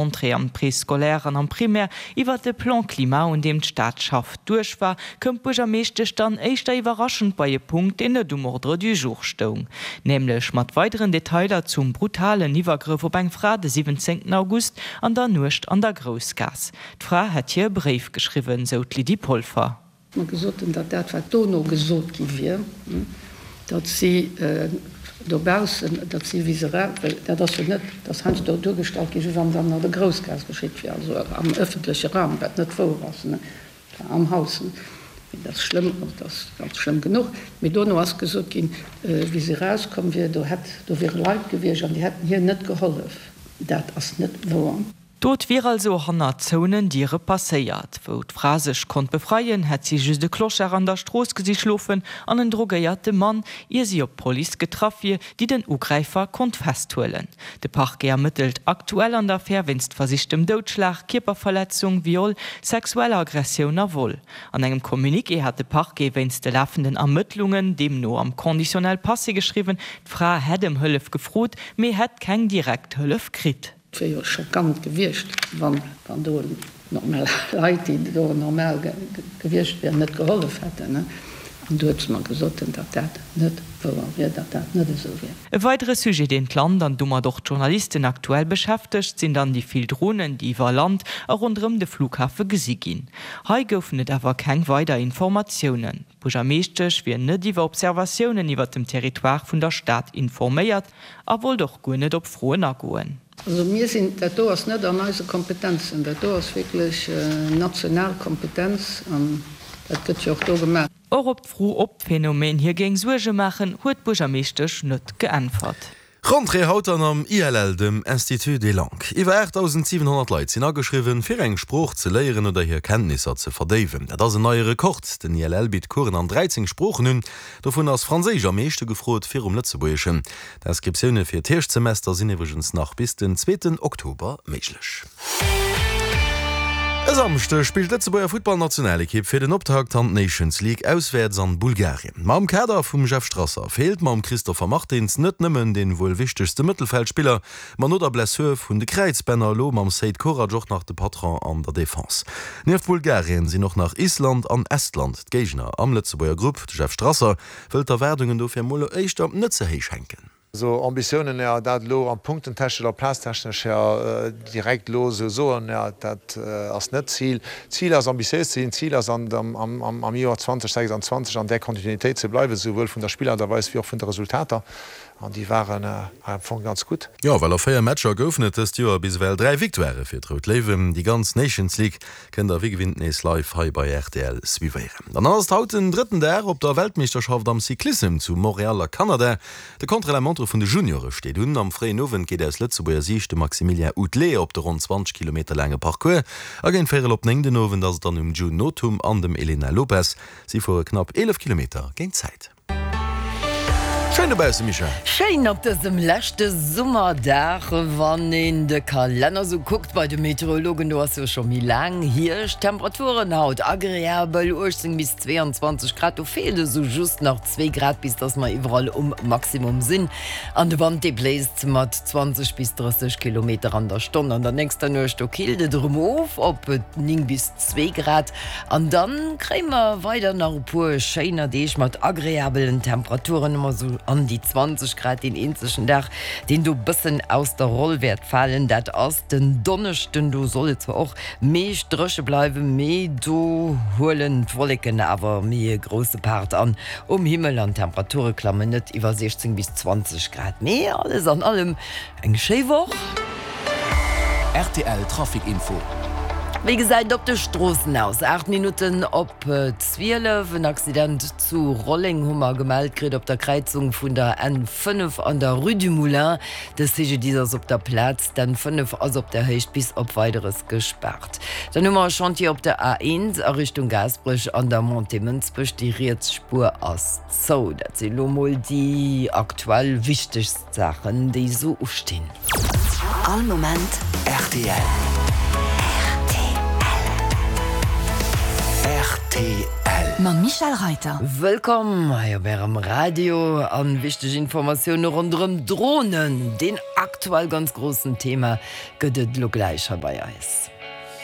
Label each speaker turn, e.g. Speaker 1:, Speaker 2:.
Speaker 1: Entrée am Préscolaire an am Primaire iwwert de Plan Climat, un deem d'Stad schafft, duerch war, koum d'Buergermeeschtesch dann éischter iwwerraschend bei e Punkt, deen net um Ordre du jour stoung, nämlech mat weideren Detailer zum brutalen Iwwergrëff op eng Fra de 17 August an der Nuecht an der Groussgaass. D'Fra hätt hir e Bréif geschriwwen, sou d'Lydie Polfer.
Speaker 2: Mer gesot hunn, datt dat, wat dono gesot gi wier, datt si dobaussen, datt si wéi se era, well dat ass jo net, dat ass heiansdo duergestallt gi wéi wann et an der Groussgaass geschitt wier, also am ëffentleche Raum, wat net wouer ass, et war am Haus. Mee dat ass schlëmm, dat ass ganz schlëmm genuch. Mee dono ass gesot ginn, wéi se erauskomm wier, do hätt, do wiere Leit gewiescht an déi hätten hir net gehollef. Dat ass net wouer.
Speaker 1: D'Dot wier also hanner zouenen Diere passéiert. Wou d'Fra sech konnt befreien, hätt si just e Clochard an der Strooss gesi schlofen an en drogéierte Mann, ier si op d'Police getraff wier, déi den Ugräifer konnt festhuelen. De Parquet ermëttelt aktuell an der Affär wéinst versichtem Doudschlag, Kierperverletzung, Viol, sexueller Aggressioun a Vol. An engem Communiqué hat de Parquet wéinst de lafenden Ermëttlungen deemno am Conditionnel passé geschriwwen, d'Fra hätt ëm Hëllef gefrot, mee hätt keng direkt Hëllef kritt.
Speaker 2: Et wier jo schockant gewiescht, wann do normal Leit, déi do normal gewiescht wieren, net gehollef hätten. An du huet se mer gesot, datt dat net wouer wier, datt dat net esou wier.
Speaker 1: E weidere Sujet, deen d'Land an domat och d'Journalisten aktuell beschäftegt, sinn dann déi vill Dronen, déi iwwer Land a ronderëm de Flughafe gesi ginn. Hei goufen et awer keng weider Informatiounen. D'Buergermeeschtesch wier net iwwer Observatiounen iwwer dem Territoire vun der Stad informéiert a wollt och guer net op Froen agoen.
Speaker 2: Also mir sinn, dat do ass net an eise Kompetenzen, dat do ass wierklech national Kompetenz an dat gëtt jo och do gemaach.
Speaker 1: Och op d'Fro, ob d'Phänomen hir géing Suerge maachen, huet d'Buergermeeschtesch net geäntwert.
Speaker 3: Rentrée haut dann am ILL, dem Institut des Langues. Iwwer 8.700 Leit sinn ageschriwwen, fir eng Sprooch ze léieren oder hir Kenntnisser ze verdéiwen. Dat ass en neie Rekord. Den ILL bitt Coursen an 13 Sproochen un. Dovun ass Franséisch am meeschte gefrot, virum Lëtzebuergeschen. D'Inscriptioune fir d'Hierschtsemester sinn iwwregens nach bis den zweeten Oktober méiglech. E Samschdeg spillt d'Lëtzebuerger Futtballnationalekipp fir den Optakt an d'Nations League auswäerts an Bulgarien. Ma am Kader vum Jeff Strasser feelt mam Christopher Martins net nëmmen dee wuel wichtegste Mëttelfeldspiller, ma no der Blessur vun de Kräizbänner elo mam Seid Korac och nach de Patron an der Defense. Nieft Bulgarien sinn och nach Island an Estland d'Géigner am Lëtzebuerger Grupp. De Jeff Strasser wëllt d'Erwaardungen dofir mol éischter net ze héich hänken.
Speaker 4: Esou Ambitiounen, jo, dat elo am punktentechnesch oder plaztechnesch, jo, direkt elo esou soen, jo, dat ass net d'Zil. D'Zil ass ambitiéis ze sinn, d'Zil ass an am Joer 2026 an där Kontinuitéit ze bleiwen, esouwuel vun der Spillart a Weis wéi och vun de Resultater, an déi waren am Fong ganz gutt.
Speaker 3: Jo, well a 4 Matcher goufen et dëst Joer bis ewell 3 Victoirë fir d'Rout Léiwen. Déi ganz Nations League kënnt der wéi gewinnt nees live hei bei rtl suivéieren. An dann ass et haut den drëtten Dag op der Weltmeeschterschaft am Cyclissem zu Montréal a Kanada. De Contre-la-montre vun de Juniore steet un. Am fréien Owend geet aus Lëtzebuerger Siicht de Maximilien Oudelet op de ronn 20 Kilometer laange Parcours. A géint véierel op 9 den Owend ass et dann um June Nothum an dem Elena Lopes. Si fuere knapp 11 Kilometer géint d'Zäit. Schéin dobausse Michèle!
Speaker 5: Schéin op dësem leschte Summerdag, wann een de Kalenner sou kuckt bei de Meteorologen, do ass jo scho méi laang Hierscht. Temperaturen haut agreabel, 18 bis 22 Grad, do feelt esou just nach Zwee Grad bis dass mer iwwerall um Maximum sinn. An de Wand dee bléist mat 20 bis 30 Kilometer an der Stonn. An der nächster Nuecht do killt et erëm of op 9 bis 2 Grad. An dann kréie mer weider nach e puer schéiner Deeg mat agreabelen Temperaturen, ëmmer sou an déi 20 Grad. Deen eenzegen Dag deen do bëssen aus der Roll wäert falen, dat ass den Donneschden. Do soll et zwar och Meescht dréche bleiwen, mee do huelen d'Wolleken awer méi e grousse Part an um Himmel an d'Temperature klammen net iwwer 16 bis 20 Grad. Mee alles an allem eng schéi Woch.
Speaker 6: Rtl Trafic Info.
Speaker 5: Wéi gesäit et op de Stroossen aus? 8 Minutten op 12, En Accident zu Rolleng hu mer gemellt kritt op der Kräizung vun der N5 an der Rue du Moulin. De CGDIS ass op der Plaz, d'N 5 ass op der Héicht bis op Weideres gespaart. Dann hu mer e Chantier op der A1 a Richtung Gaasperech an der Montée Mënsbech, déi riets Spuer ass zou. Dat si lo mol déi aktuell wichtegst Saachen, déi esou ustinn.
Speaker 6: All Moment rtl. Rtl. Rtl. Mam Michel Reiter.
Speaker 5: Wëllkomm hei op Ärem Radio an wichteg Informatioune ronderëm Dronen, deen aktuell ganz groussen Thema, gëtt et elo gläich hei bei eis.